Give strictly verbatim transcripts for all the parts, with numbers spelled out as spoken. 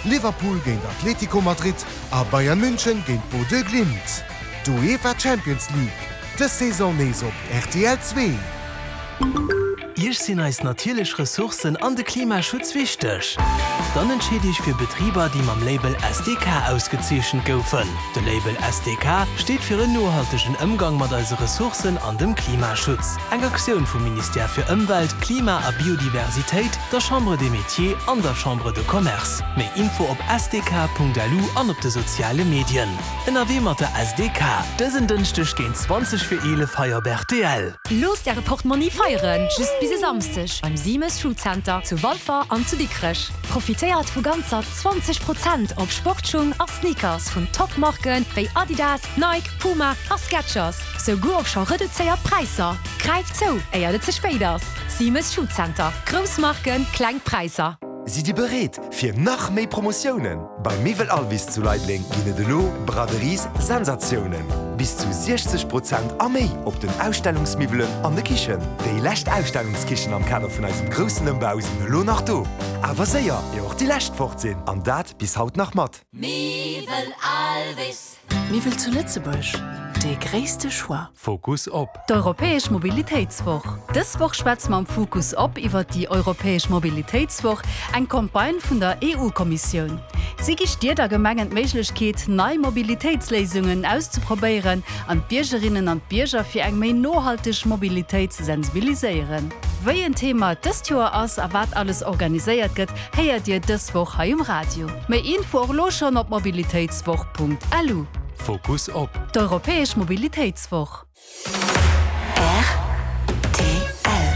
Liverpool géint Atlético Madrid a Bayern München géint Bodø Glimt. D'UEFA Champions League, dës Saison nees op rtl zwee. Iech sinn eis natierlech Ressourcen an de Klimaschutz wichteg? Dann entscheet Iech fir Betriber, déi mam Label S D K ausgezeechent goufen. De Label S D K steet fir en nohaltegen Ëmgang mat eise Ressourcen an dem Klimaschutz. Eng Aktioun vum Ministère fir Ëmwelt, Klima a Biodiversitéit, der Chambre des Métiers an der Chambre de Commerce. Méi Info op S D K Punkt L U an op de soziale Medien. Ënnerwee mat der S D K, dësen Dënschdeg géint zwanzeg vir eelef hei op R T L. Loosst Äre Portmonni feieren, just bis e Samsdeg beim Siemes Schuhcenter zu Walfer an zu Dikrech. Profitéiert vu ganzer zwanzeg Prozent op Sportschung a Sneakers vun Top-Marken wéi Adidas, Nike, Puma a Skechers. Souguer op scho reduzéiert Präisser. Gräift zou, éier et ze spéit ass. Siemes Schuhcenter. Grouss Marken, kleng Präisser. Sidd Dir bereet fir nach méi Promotiounen? Bei Miwwel Alvis zu Leideleng ginn et elo Braderies-Sensatiounen. Bis zu siechzeg Prozent a méi op den Ausstellungsmiwwelen an de Kichen. Déi lescht Ausstellungskichen am Kader vun eisem groussen Ëmbau sinn elo nach do. Awer séier, ier och déi lescht fort sinn. An dat bis haut nach mat. Miwwel Alvis. Miwwel zu Lëtzebuerg, dee gréisste Choix. Fokus op. D'Europäesch Mobilitéitswoch. Dës Woch schwätze mer am Fokus op iwwer déi Europäesch Mobilitéitswoch, eng Campagne vun der E U-Kommissioun. Si gi Stied a Gemengen d'Méiglechkeet, nei Mobilitéitsléisungen auszeprobéieren an d'Biergerinnen an d'Bierger fir eng méi nohalteg Mobilitéit ze sensibiliséieren. Wéi en Thema dëst Joer ass a wat alles organiséiert gëtt, héiert Dir dës Woch hei um Radio. Méi Info och elo schonn op mobilitéitswoch Punkt L U. Fokus op. D'Europäesch Mobilitéitswoch.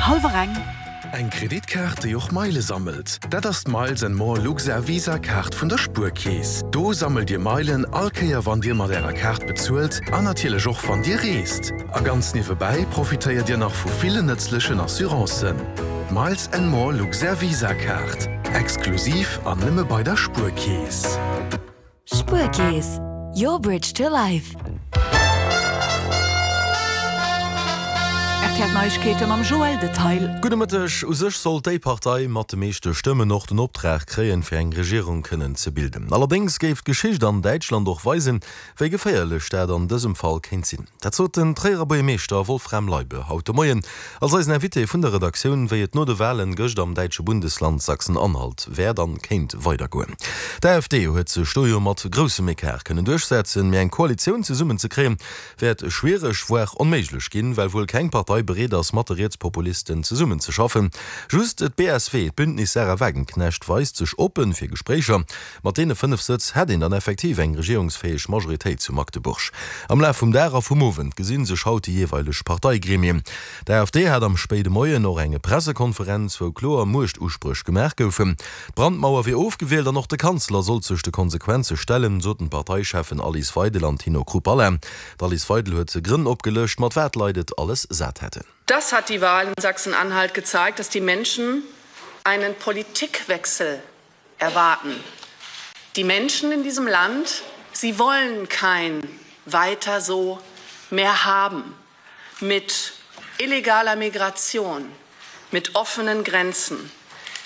Hallwer eng. Eng Kreditkaart, déi och Meile sammelt. Dat ass d'Miles and More Luxair Visa Kaart vun der Spuerkeess. Do sammelt Dir Meilen all Kéier wann Dir mat Ärer Kaart bezuelt an natierlech och wann Dir reest. A ganz niewebäi profitéiert Dir nach vu villen nëtzlechen Assurancen. Miles and More Luxair Visa Kaart. Exklusiv an nëmme bei der Spuerkeess. Spuerkeess. Your bridge to life. R T L Neiegkeete mam Joël Detail. Gudde Mëtteg. U sech sollt déi Partei mat de meeschte Stëmmen och den Optrag kréien, fir eng Regierung kënnen ze bilden. Allerdéngs géif d'Geschicht an Däitschland och weisen, wéi geféierlech dat an dësem Fall kéint sinn. Dat sot den Tréierer Buergermeeschter Wolfram Leibe haut de Moien als eisen Invité vun der Redaktioun, wéi et no de Walen gëscht am däitsche Bundesland Sachsen-Anhalt wäert an kéint weidergoen. D'A F D huet sech do jo mat groussem Ecart kënnen duerchsetzen, mee eng Koalitioun zesummenzekréien, wäert schwiereg, voire onméiglech ginn, well wuel keng Partei bereet ass, mat de Rietspopulisten zesummenzeschaffen. Just d'B S W, d'Bündnis Sahra Wagenknecht, weist sech oppen fir Gespréicher. Mat deene fënnef Sëtz hätt een dann effektiv eng regierungsfäeg Majoritéit zu Magdeburg. Am Laf vum Dag a vum Owend gesinn sech haut déi jeeweileg Parteigremien. D'A F D hat am spéide Moien och eng Pressekonferenz, wou kloer Muechtuspréch gemaach goufen. D'Brandmauer wier ofgewielt an och de Kanzler sollt sech de Konsequenze stellen, soten d'Parteicheffen Alice Weidel an Tino Chrupalla. D'Alice Weidel huet Grënn opgelëscht, mat wat d'Leit et alles sat hätten. Das hat die Wahl in Sachsen-Anhalt gezeigt, dass die Menschen einen Politikwechsel erwarten. Die Menschen in diesem Land, sie wollen kein Weiter so mehr haben mit illegaler Migration, mit offenen Grenzen,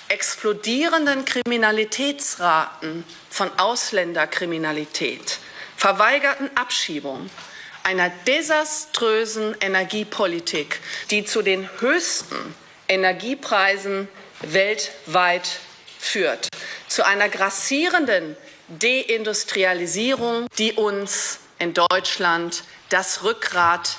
explodierenden Kriminalitätsraten von Ausländerkriminalität, verweigerten Abschiebungen, einer desaströsen Energiepolitik, die zu den höchsten Energiepreisen weltweit führt, zu einer grassierenden Deindustrialisierung, die uns in Deutschland das Rückgrat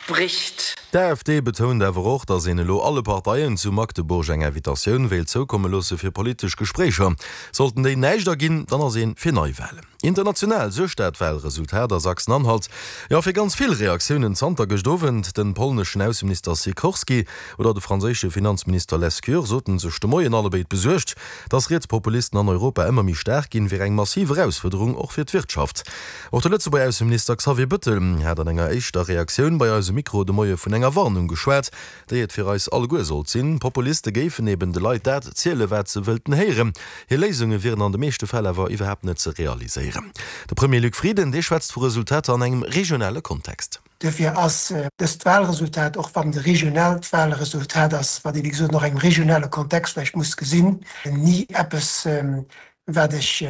bricht. D'A F D betount awer och, datt een elo alle Parteien zu Magdeburg eng Invitatioun wéilt zoukomme loosse fir politesch Gespréicher. Sollten déi näischt erginn, dann ass ee fir Neiwalen. International suergt dat Walresultat a Sachsen-Anhalt jo fir ganz vill Reaktiounen zanter gëscht Owend. De polneschen Ausseminister Sikorski oder de franséische Finanzminister Lescure soten sech de Moien allebéid besuergt. Datt Rietspopulisten an Europa ëmmer méi staark ginn, wier eng massiv Erausfuerderung och fir d'Wirtschaft. Och de Lëtzebuerger Ausseminister Xavier Bettel hat an enger éischter Reaktioun bei eisem Mikro de Moie vun enger Warnung geschwat, déi et fir eis alleguer sollt sinn. Populiste géifen eben de Leit dat zielen, wat se wëllten héieren. Hir Léisunge wieren an de meeschte Fäll awer iwwerhaapt net ze realiséieren. De Premier Luc Frieden, dee schwätzt vu Resultater an engem regionale Kontext. Duerfir ass dëst Walresultat, och wann et e regionaalt Walresultat ass, wat ee wéi gesot nach engem regionale Kontext vläicht muss gesinn, ni eppes, wat ech